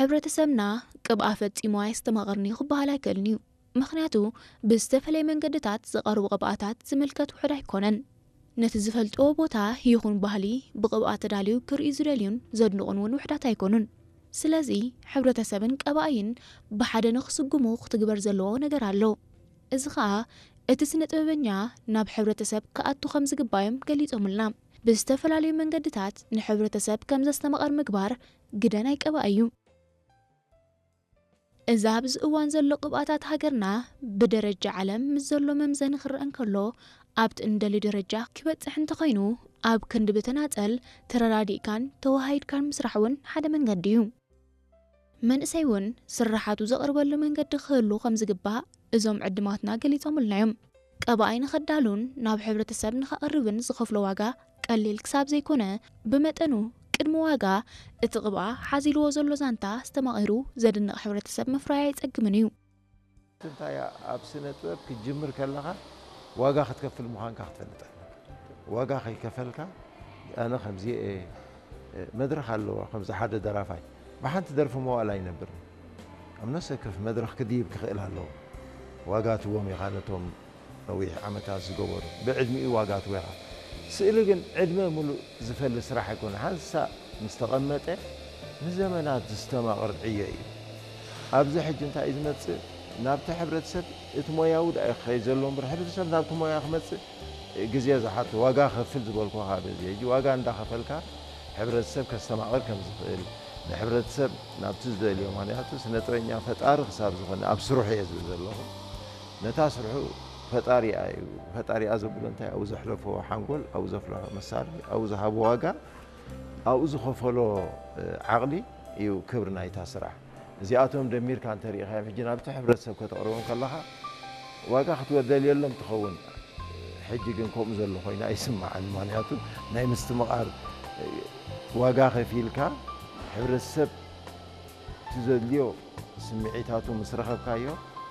ሕብረተሰብና ቅብኣ ፈጺሙ ኣየስተማቕርን እዩ ክበሃል ኣይክእልን እዩ። ምኽንያቱ ብዝተፈለየ መንገድታት ዝቐርቡ ቅብኣታት ዝምልከት ውሑድ ኣይኮነን። ነቲ ዝፈልጥዎ ቦታ ይኹን ባህሊ ብቕብኣ ተዳልዩ ክርእዩ ዝደልዩን ዘድንቑን እውን ውሑዳት ኣይኮኑን። ስለዚ ሕብረተሰብን ቀባኢን ብሓደ ንኽስጉሙ ክትግበር ዘለዎ ነገር ኣሎ። እዚ ኸኣ እቲ ስነ ጥበበኛ ናብ ሕብረተሰብ ክኣቱ ከም ዝግባዮም ገሊጾምልና። ብዝተፈላለዩ መንገድታት ንሕብረተሰብ ከም ዘስተማቕር ምግባር ግደ ናይ ቀባኢ እዩ። እዚ ኣብዚ እዋን ዘሎ ቅብኣታት ሃገርና ብደረጃ ዓለም ምስ ዘሎ መምዘኒ ክረአ እንከሎ ኣብቲ እንደልዮ ደረጃ ክበጽሕ እንተኾይኑ ኣብ ክንዲ ብተናጸል ተረዳዲእካን ተወሃሂድካን ምስራሕ እውን ሓደ መንገዲ እዩ። መንእሰይ እውን ስርሓቱ ዘቕርበሉ መንገዲ ክህሉ ከም ዝግባእ እዞም ዕድማትና ገሊጾምልና እዮም። ቀባኢ ንኸዳሉን ናብ ሕብረተሰብ ንኸቕርብን ዝኸፍሎ ዋጋ ቀሊል ክሳብ ዘይኮነ ብመጠኑ ቅድሚ ዋጋ እቲ ቅብኣ ሓዚልዎ ዘሎ ዛንታ ኣስተማቒሩ ዘድንቕ ሕብረተሰብ ምፍራይ ኣይጸግምን እዩ። እንታይ ኣብ ስነ ጥበብ ክትጅምር ከለኻ ዋጋ ክትከፍል ምዃንካ ክትፈልጥ ኣለካ። ዋጋ ከይከፈልካ ኣነ ከምዚ እየ መድረኽ ኣለዎ ከምዚ ሓደ ደራፋይ ብሓንቲ ደርፊ መዋእል ኣይነብርን። ኣብ ነፍሰ ከፍ መድረኽ ክድይብ ክኽእል ኣለዎ። ዋጋ ትዎም ኢኻ ነቶም ነዊሕ ዓመታት ዝገበሩ ብዕድሚኡ ዋጋ ትወኻ። ስእሊ ግን ዕድመ ሙሉእ ዝፈሊ ስራሕ ኣይኮነ ሓንሳ ምስ ተቐመጠ ንዘመናት ዝስተማቕር ዕዮ እዩ። ኣብዚ ሕጂ እንታይ እዩ ዝመፅእ ናብቲ ሕብረተሰብ እቲ ሞያዊ ዳ ክኸይ ዘሎ እምበር ሕብረተሰብ ናብቲ ሞያ ክመፅእ ግዜ ዝሓቶ ዋጋ ከፍል ዝበልኩ ካብ እዚ ሕጂ ዋጋ እንዳኸፈልካ ሕብረተሰብ ከስተማቕር ከም ዝኽእል ንሕብረተሰብ ናብቲ ዝደልዮ ምክንያቱ ስነጥበኛ ፈጣሪ ክሳብ ዝኾነ ኣብ ስርሑ እየ ዝብል ዘለኹ ነታ ስርሑ ፈጣሪኣ እዩ ፈጣሪኣ ዘብሎ እንታይ ኣብኡ ዘሕለፎ ሓንጎል ኣብኡ ዘፍለሖ መሳርሒ ኣብኡ ዝሃቦ ዋጋ ኣብኡ ዝኸፈሎ ዓቕሊ እዩ ክብሪ ናይታ ስራሕ እዚኣቶም ደሚርካ እንተሪኢኻዮም ሕጂ ናብቲ ሕብረተሰብ ከተቕርቦም ከለኻ ዋጋ ክትወደልየሎም ትኸውን ሕጂ ግን ከምኡ ዘሎ ኮይና ኣይስምዓን ምክንያቱ ናይ ምስትምቓር ዋጋ ከፊልካ ሕብረተሰብ እቲ ዘድልዮ ስምዒታቱ ምስ ረኸብካዮ